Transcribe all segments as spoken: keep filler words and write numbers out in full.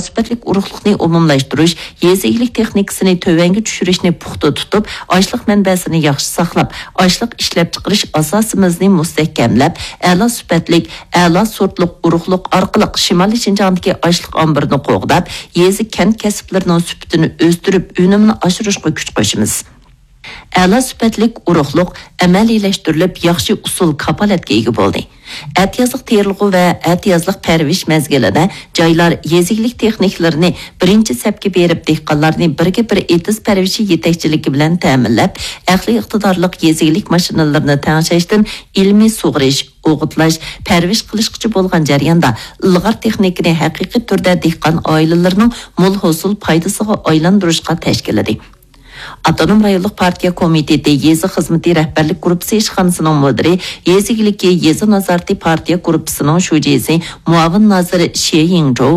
سۈپەتلىك ئۇرۇقلۇقنى ئومۇملاشتۇرۇش، يېزا ئىگىلىك تېخنىكىسىنى تۆۋەنگە چۈشۈرۈشنى پۇختا تۇتۇپ، ئاشلىق مەنبەسىنى ياخشى ساقلاپ، ئاشلىق ئىشلەپچىقىرىش ئاساسىمىزنى مۇستەھكەملەپ، ئەلا سۈپەتلىك، ئەلا سورتلۇق ئۇرۇقلۇق ئارقىلىق شىمالىي شىنجاڭدىكى ئاشلىق ئامبىرىنى قوغداپ، يېزا، كەنت كەسىپلىرىنىڭ سۈپىتىنى ئۆستۈرۈپ، ئۈنۈمىنى ئاشۇرۇشقا كۈچ قوشىمىز. ئەلا سۈپەتلىك ئۇرۇقلۇق ئەمەلىيلەشتۈرۈلۈپ، ياخشى ئۇسۇل كاپالەتكە ئىگە بولدى. ئەتىيازلىق تېرىلغۇ ۋە ئەتىيازلىق پەرۋىش مەزگىلىدە جايلار يېزا ئىگىلىك تېخنىكلىرىنى بىرىنچى سەپكە بېرىپ، دېھقانلارنى بىرگە بىر ئېتىز پەرۋىشى يېتەكچىلىكى بىلەن تەمىنلەپ، ئەقلىي ئىقتىدارلىق يېزا ئىگىلىك ماشىنىلىرىنى تەڭشەشتىن ئىلمىي سۇغىرىش، ئوغۇتلاش، پەرۋىش قىلىشقىچە بولغان جەرياندا ئىلغار تېخنىكىنى ھەقىقىي تۈردە دېھقان ئائىلىلىرىنىڭ مول ھوسۇل پايدىسىغا ئايلاندۇرۇشقا تەشكىللىدى. ئاپتونوم رايونلۇق پارتىيە كومىتېتى يېزا خىزمىتى رەھبەرلىك گۇرۇپپىسى ئىشخانىسىنىڭ مۇدىرى، يېزا ئىگىلىكى، يېزا نازارىتى پارتىيە گۇرۇپپىسىنىڭ شۇجىسى، مۇئاۋىن نازىر شې يىڭجوۋ،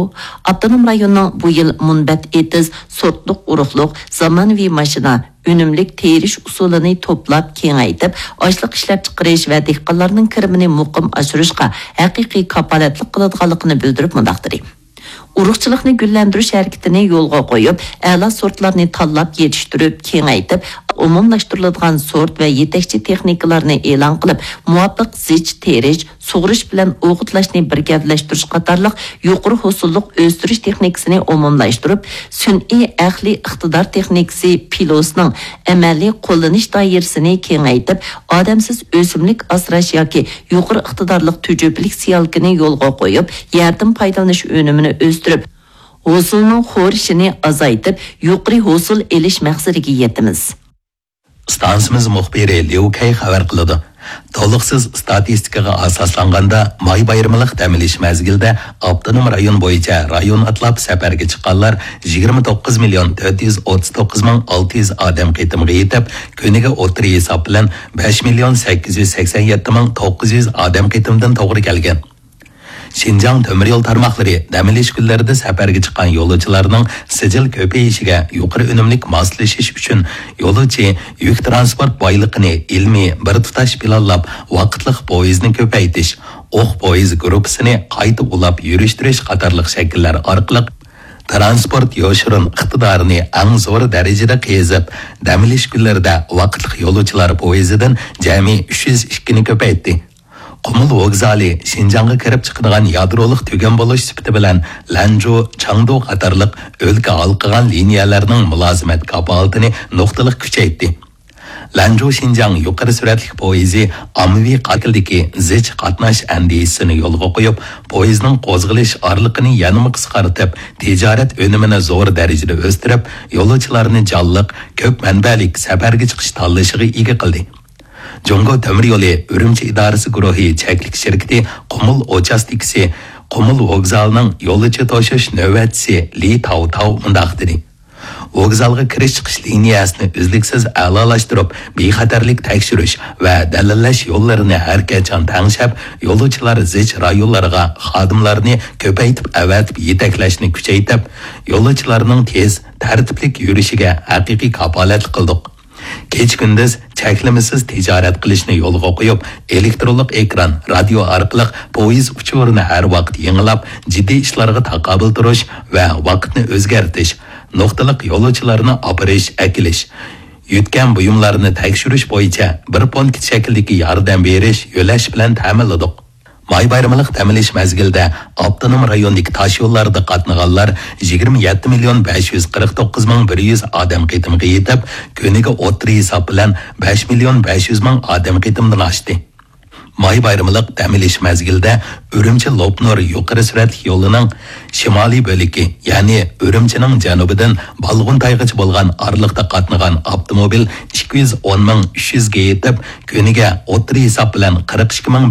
ئاپتونوم رايوننىڭ بۇ يىل مۇنبەت ئېتىز، سورتلۇق ئۇرۇقلۇق، زامانىۋى ماشىنا، ئۈنۈملۈك تېرىش ئۇسۇلىنى توپلاپ كېڭەيتىپ، ئاشلىق ئىشلەپچىقىرىش ۋە دېھقانلارنىڭ كىرىمىنى مۇقىم ئاشۇرۇشقا ھەقىقىي كاپالەتلىك قىلىدىغانلىقىنى بىلدۈرۈپ مۇنداق دېدى. ئۇرۇقچىلىقنى گۈللەندۈرۈش ھەرىكىتىنى يولغا قويۇپ، ئەلا سورتلارنى تاللاپ يېتىشتۈرۈپ، كېڭەيتىپ، ئومۇملاشتۇرۇلىدىغان سورت ۋە يېتەكچى تېخنىكىلارنى ئېلان قىلىپ، مۇۋاپىق زىچ تېرىش، سۇغىرىش بىلەن ئوغۇتلاشنى بىر گەۋدىلەشتۈرۈش قاتارلىق يۇقىرى ھوسۇللۇق ئۆستۈرۈش تېخنىكىسىنى ئومۇملاشتۇرۇپ، سۈنئىي ئەقلىي ئىقتىدار تېخنىكىسى پىلوسنىڭ ئەمەلىي قوللىنىش دائىرىسىنى كېڭەيتىپ، ئادەمسىز ئۆسۈملۈك ئاسراش ياكى يۇقىرى ئىقتىدارلىق تۈجۈپىلىك سېيالكىنى يولغا قويۇپ، يەردىن پايدىلىنىش ئۈنۈمىنى ئۆستۈرۈپ، ھوسۇلنىڭ خورىشىنى ئازايتىپ، يۇقىرى ھوسۇل ئېلىش مەقسىتىگە يېتىمىز. ئىستانسىمىز مۇخبىرى ليۇ كەي خەۋەر قىلىدۇ. تولۇقسىز ئىستاتىستىكىغا ئاساسلانغاندا، ماي بايرىملىق دەم ئېلىش مەزگىلىدە ئاپتونوم رايون بويىچە رايون ئاتلاپ سەپەرگە چىققانلار يىگىرمە توققۇز مىليون تۆت يۈز ئوتتۇز توققۇز مىڭ ئالتە يۈز ئادەم قېتىمغا يېتىپ، كۈنىگە ئوتتۇرا ھېساب بىلەن بەش مىليون سەككىز يۈز سەكسەن يەتتە مىڭ توققۇز يۈز ئادەم قېتىمدىن توغرا كەلگەن. شىنجاڭ تۆمۈر يول تارماقلىرى دەم ئېلىش كۈنلىرىدە سەپەرگە چىققان يولۇچىلارنىڭ سىجىل كۆپىيىشىگە يۇقىرى ئۈنۈملۈك ماسلىشىش ئۈچۈن، يولۇچى يۈك تىرانسپورت بايلىقىنى ئىلمىي بىر تۇتاش پىلانلاپ، ۋاقىتلىق پويىزنى كۆپەيتىش، ئوق پويىز گۇرۇپپىسىنى قايتا ئۇلاپ يۈرۈشتۈرۈش قاتارلىق شەكىللەر ئارقىلىق تىرانسپورت يوشۇرۇن ئىقتىدارىنى ئەڭ زور دەرىجىدە قېزىپ، دەم ئېلىش كۈنلىرىدە ۋاقىتلىق يولۇچىلار پويىزىدىن جەمئىي ئۈچ يۈز ئىككىنى كۆپەيتتى. قۇمۇل ۋوگزالى شىنجاڭغا كىرىپ چىقىدىغان يادرولۇق تۈگۈن بولۇش سۈپىتى بىلەن لەنجۇ، چاڭدۇ قاتارلىق ئۆلكە ھالقىغان لىنىيەلەرنىڭ مۇلازىمەت كاپالىتىنى نۇقتىلىق كۈچەيتتى. لەنجۇ شىنجاڭ يۇقىرى سۈرئەتلىك پويىزى ئاممىۋى قاتىلدىكى زىچ قاتناش ئەندىزىسىنى يولغا قويۇپ، پويىزنىڭ قوزغىلىش ئارىلىقىنى يەنىمۇ قىسقارتىپ، تىجارەت ئۈنۈمىنى زور دەرىجىدە ئۆستۈرۈپ، يولۇچىلارنى جانلىق، كۆپ مەنبەلىك سەپەرگە چىقىش تاللىشىغا ئىگە قىلدى. جۇڭگو تۆمۈر يولى ئۈرۈمچى ئىدارىسى گۇرۇھى چەكلىك شىركىتى قۇمۇل ئوچاستكىسى قۇمۇل ۋوگزالىنىڭ يولۇچى توشۇش نۆۋەتچىسى لى تاۋتاۋ مۇنداق دېدى: ۋوگزالغا كىرىش چىقىش لىنىيەسىنى ئۈزلۈكسىز ئەلالاشتۇرۇپ، بىخەتەرلىك تەكشۈرۈش ۋە دەلىللەش يوللىرىنى ھەرقاچان تەڭشەپ، يولۇچىلار زىچ رايونلارغا خادىملارنى كۆپەيتىپ ئەۋەتىپ يېتەكلەشنى كۈچەيتىپ، يولۇچىلارنىڭ تېز، تەرتىپلىك يۈرۈشىگە ھەقىقىي كاپالەتلىك قىلدۇق. كېچە-كۈندۈز چەكلىمىسىز تىجارەت قىلىشنى يولغا قويۇپ، ئېلېكترونلۇق ئېكران، رادىيو ئارقىلىق پويىز ئۇچۇرىنى ھەر ۋاقىت يېڭىلاپ، جىددىي ئىشلارغا تاقابىل تۇرۇش ۋە ۋاقىتنى ئۆزگەرتىش، نۇقتىلىق يولۇچىلارنى ئاپىرىش، ئەكېلىش، يۆتكەم بۇيۇملارنى تەكشۈرۈش بويىچە بىر پونكىت شەكلىدىكى ياردەم بېرىش، يۆلەش بىلەن تەمىنلىدۇق. ماي بايرىملىق دەم ئېلىش مەزگىلىدە ئاپتونوم رايوندىكى تاش يوللاردا قاتنىغانلار يىگىرمە يەتتە مىليون بەش يۈز قىرىق توققۇز مىڭ بىر يۈز ئادەم قېتىمغا يېتىپ، كۈنىگە ئوتتۇرا ھېساب بىلەن بەش مىليون بەش يۈز مىڭ ئادەم قېتىمدىن ئاشتى. ماي بايرىملىق دەم ئېلىش مەزگىلىدە ئۈرۈمچى لوپنۇر يۇقىرى سۈرئەتلىك يولىنىڭ شىمالىي بۆلىكى، يەنى ئۈرۈمچىنىڭ جەنۇبىدىن بالغۇنتايغىچە بولغان ئارىلىقتا قاتنىغان ئاپتوموبىل ئىككى يۈز ئون مىڭ ئۈچ يۈزگە يېتىپ، كۈنىگە ئوتتۇرا ھېساب بىلەن قىرىق ئىككى مىڭ